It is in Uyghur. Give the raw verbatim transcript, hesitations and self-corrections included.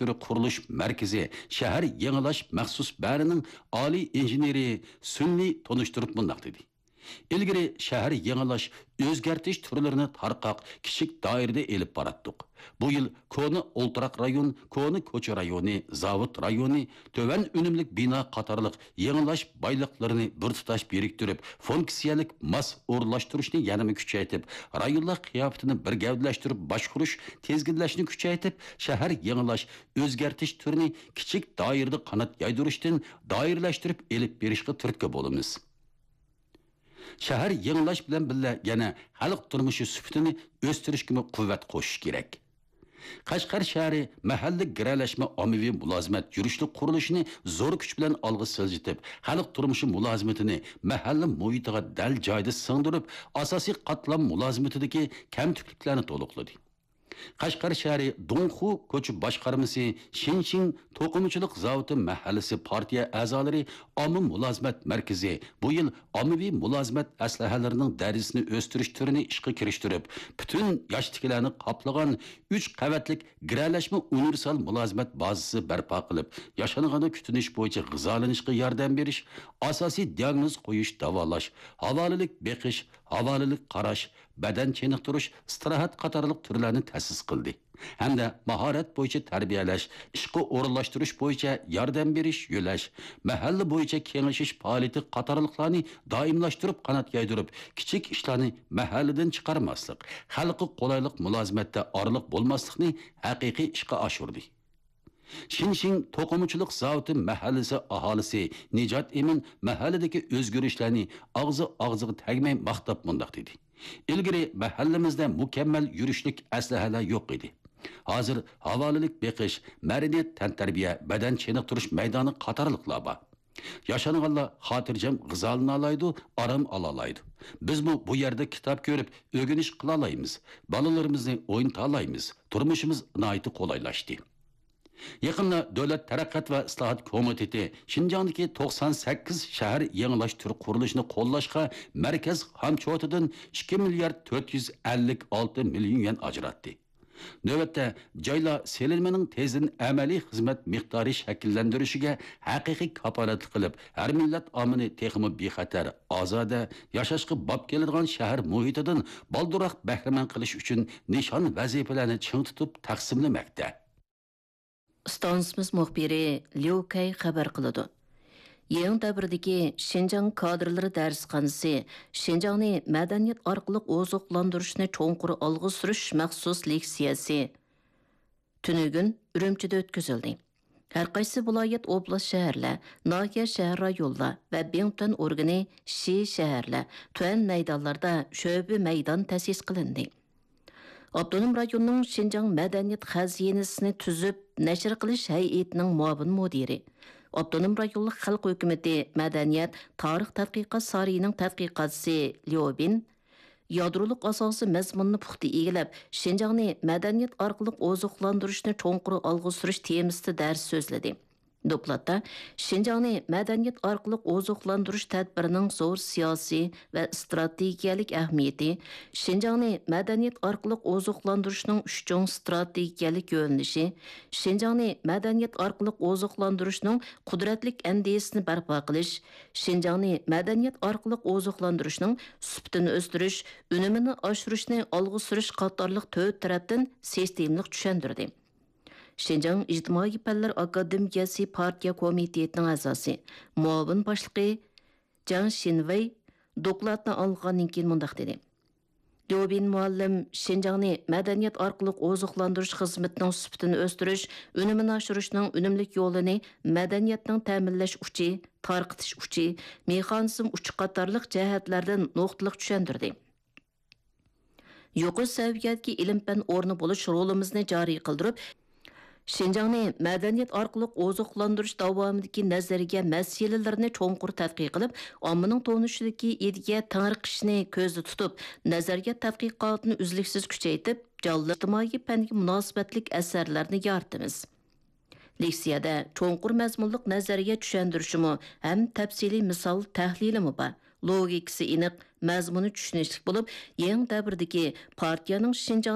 تۈرى قۇرۇلۇش مەركىزى شەھەر يېڭىلاش مەخسۇس بەرىنىڭ ئالىي ئىنژېنېرى سۈننى تونۇشتۇرۇپ مۇنداق دېدى: ئىلگىرى شەھەر يېڭىلاش، ئۆزگەرتىش تۈرلىرىنى تارقاق، كىچىك دائىرىدە ئېلىپ باراتتۇق. بۇ يىل كونا ئولتۇراق رايون، كونا كوچا رايونى، زاۋۇت رايونى، تۆۋەن ئۈنۈملۈك بىنا قاتارلىق يېڭىلاش بايلىقلىرىنى بىر تۇتاش بىرىكتۈرۈپ، فۇنكسىيەلىك ماس ئورۇنلاشتۇرۇشنى يەنىمۇ كۈچەيتىپ، رايونلار قىياپىتىنى بىر گەۋدىلەشتۈرۈپ باشقۇرۇش، تىزگىنلەشنى كۈچەيتىپ، شەھەر يېڭىلاش، ئۆزگەرتىش تۈرىنى كىچىك دائىرىدە قانات يايدۇرۇشتىن دائىرىلەشتۈرۈپ ئېلىپ بېرىشقا تۈرتكە بولىمىز. شەھەر يېڭىلاش بىلەن بىللە يەنە خەلق تۇرمۇشى سۈپىتىنى ئۆستۈرۈشكىمۇ قۇۋۋەت قوشۇش كېرەك. قەشقەر شەھىرى مەھەللە گىرەلەشمە ئاممىۋى مۇلازىمەت يۈرۈشلۈك قۇرۇلۇشىنى زور كۈچ بىلەن ئالغا سىلجىتىپ، خەلق تۇرمۇشى مۇلازىمىتىنى مەھەللە مۇھىتىغا دەل جايىدا سىڭدۈرۈپ، ئاساسىي قاتلام مۇلازىمىتىدىكى كەمتۈكلۈكلەرنى تولۇقلىدى. قەشقەر شەھىرى دۇڭخۇ كوچا باشقارمىسى شىنشىڭ توقۇمىچىلىق زاۋۇتى مەھەللىسى پارتىيە ئەزالىرى ئامما مۇلازىمەت مەركىزى بۇ يىل ئاممىۋى مۇلازىمەت ئەسلىھەلىرىنىڭ دەرىجىسىنى ئۆستۈرۈش تۈرىنى ئىشقا كىرىشتۈرۈپ، پۈتۈن ياشتىكىلەرنى قاپلىغان ئۈچ قەۋەتلىك گىرەلەشمە ئۇنىۋېرسال مۇلازىمەت بازىسى بەرپا قىلىپ، ياشانغاندا كۈتۈنۈش بويىچە غىزالىنىشقا ياردەم بېرىش، ئاساسىي دىياگنوز قويۇش، داۋالاش، ھاۋالىلىك بېقىش، ھاۋالىلىك قاراش، بەدەن چېنىقتۇرۇش، ئىستىراھەت قاتارلىق تۈرلەرنى تەسىس قىلدى ھەمدە ماھارەت بويىچە تەربىيەلەش، ئىشقا ئورۇنلاشتۇرۇش بويىچە ياردەم بېرىش، يۆلەش، مەھەللە بويىچە كېڭىشىش پائالىيىتى قاتارلىقلارنى دائىملاشتۇرۇپ قانات يايدۇرۇپ، كىچىك ئىشلارنى مەھەللىدىن چىقارماسلىق، خەلققە قولايلىق مۇلازىمەتتە ئارىلىق بولماسلىقنى ھەقىقىي ئىشقا ئاشۇردى. شىنشىڭ توقۇمىچىلىق زاۋۇتى مەھەللىسى ئاھالىسى نىجات ئىمىن مەھەللىدىكى ئۆزگىرىشلەرنى ئاغزى ئاغزىغا تەگمەي ماختاپ مۇنداق دېدى: ئىلگىرى مەھەللىمىزدە مۇكەممەل يۈرۈشلۈك ئەسلىھەلەر يوق ئىدى. ھازىر ھاۋالىلىك بېقىش، مەدەنىيەت، تەنتەربىيە، بەدەن چېنىقتۇرۇش مەيدانى قاتارلىقلار بار. ياشانغانلار خاتىرجەم غىزالىنالايدۇ، ئارام ئالالايدۇ. بىزمۇ بۇ يەردە كىتاب كۆرۈپ، ئۆگىنىش قىلالايمىز، بالىلىرىمىزنى ئوينىتالايمىز، تۇرمۇشىمىز ناھايىتى قولايلاشتى. يېقىندا دۆلەت تەرەققىيات ۋە ئىسلاھات كومىتېتى شىنجاڭدىكى توقسان سەككىز شەھەر يېڭىلاش تۈر قۇرۇلۇشىنى قوللاشقا مەركەز خامچوتىدىن ئىككى مىليارد تۆت يۈز ئەللىك ئالتە مىليون يۈەن ئاجراتتى. نۆۋەتتە، جايلار سېلىنمىنىڭ تېزدىن ئەمەلىي خىزمەت مىقدارى شەكىللەندۈرۈشىگە ھەقىقىي كاپالەتلىك قىلىپ، ھەر مىللەت ئاممىنى تېخىمۇ بىخەتەر، ئازادە، ياشاشقا باب كېلىدىغان شەھەر مۇھىتىدىن بالدۇرراق بەھرىمەن قىلىش ئۈچۈن نىشان ۋەزىپىلەرنى چىڭ تۇتۇپ تەقسىملىمەكتە. ئىستانسىمىز مۇخبىرى ليۇ كەي خەۋەر قىلىدۇ. يېڭى دەۋردىكى شىنجاڭ كادىرلىرى دەرسخانىسى، شىنجاڭنى مەدەنىيەت ئارقىلىق ئوزۇقلاندۇرۇشنى چوڭقۇر ئالغا سۈرۈش مەخسۇس لېكسىيەسى تۈنۈگۈن ئۈرۈمچىدە ئۆتكۈزۈلدى. ھەرقايسى ۋىلايەت، ئوبلاست، شەھەرلەر، ناھىيە، شەھەر، رايونلار ۋە بىڭتۈەن ئورگىنى، شى، شەھەرلەر، تۈەن مەيدانلاردا شۆبە مەيدان تەسىس قىلىندى. ئاپتونوم رايوننىڭ شىنجاڭ مەدەنىيەت خەزىنىسىنى تۈزۈپ نەشر قىلىش ھەيئىتىنىڭ مۇئاۋىن مۇدىرى، ئاپتونوم رايونلۇق خەلق ھۆكۈمىتى مەدەنىيەت تارىخ تەتقىقات سارىيىنىڭ تەتقىقاتچىسى ليۇ بىن يادرولۇق ئاساسىي مەزمۇننى پۇختا ئىگىلەپ، شىنجاڭنى مەدەنىيەت ئارقىلىق ئوزۇقلاندۇرۇشنى چوڭقۇر ئالغا سۈرۈش تېمىسىدا دەرس سۆزلىدى. دوكلاتتا شىنجاڭنى مەدەنىيەت ئارقىلىق ئوزۇقلاندۇرۇش تەدبىرىنىڭ زور سىياسىي ۋە ئىستراتېگىيەلىك ئەھمىيىتى، شىنجاڭنى مەدەنىيەت ئارقىلىق ئوزۇقلاندۇرۇشنىڭ ئۈچ چوڭ ئىستراتېگىيەلىك يۆنىلىشى، شىنجاڭنى مەدەنىيەت ئارقىلىق ئوزۇقلاندۇرۇشنىڭ قۇدرەتلىك ئەندىزىسىنى بەرپا قىلىش، شىنجاڭنى مەدەنىيەت ئارقىلىق ئوزۇقلاندۇرۇشنىڭ سۈپىتىنى ئۆستۈرۈش، ئۈنۈمىنى ئاشۇرۇشنى ئالغا سۈرۈش قاتارلىق تۆت تەرەپتىن سىستېمىلىق چۈشەندۈردى. شىنجاڭ ئىجتىمائىي پەنلەر ئاكادېمىيەسى پارتىيە كومىتېتىنىڭ ئەزاسى، مۇئاۋىن باشلىقى جاڭ شىنۋېي دوكلاتنى ئاڭلىغاندىن كېيىن مۇنداق دېدى: ليۇ بىن مۇئەللىم شىنجاڭنى مەدەنىيەت ئارقىلىق ئوزۇقلاندۇرۇش خىزمىتىنىڭ سۈپىتىنى ئۆستۈرۈش، ئۈنۈمىنى ئاشۇرۇشنىڭ ئۈنۈملۈك يولىنى مەدەنىيەتنىڭ تەمىنلەش ئۇچى، تارقىتىش ئۇچى، مېخانىزم ئۇچى قاتارلىق جەھەتلەردىن نۇقتىلىق چۈشەندۈردى. يۇقىرى سەۋىيەدىكى ئىلىم-پەن ئورنى بولۇش رولىمىزنى جارى قىلدۇرۇپ، شىنجاڭنى مەدەنىيەت ئارقىلىق ئوزۇقلاندۇرۇش داۋامىدىكى نەزەرىيە مەسىلىلىرىنى چوڭقۇر تەتقىق قىلىپ، ئاممىنىڭ تونۇشىدىكى ئىدىيە تېڭىرقىشىنى كۆزدە تۇتۇپ، نەزەرىيە تەتقىقاتىنى ئۈزلۈكسىز كۈچەيتىپ، جانلىق ئىجتىمائىي پەنگە مۇناسىۋەتلىك ئەسەرلەرنى يارىتىمىز. لېكسىيەدە چوڭقۇر مەزمۇنلۇق نەزەرىيە چۈشەندۈرۈشىمۇ ھەم تەپسىلىي مىسال تەھلىلىمۇ بار. لوگىكىسى ئېنىق، مەزمۇنى چۈشىنىشلىك بولۇپ، يېڭى دەۋردىكى پارتىيەنىڭ شىنجاڭ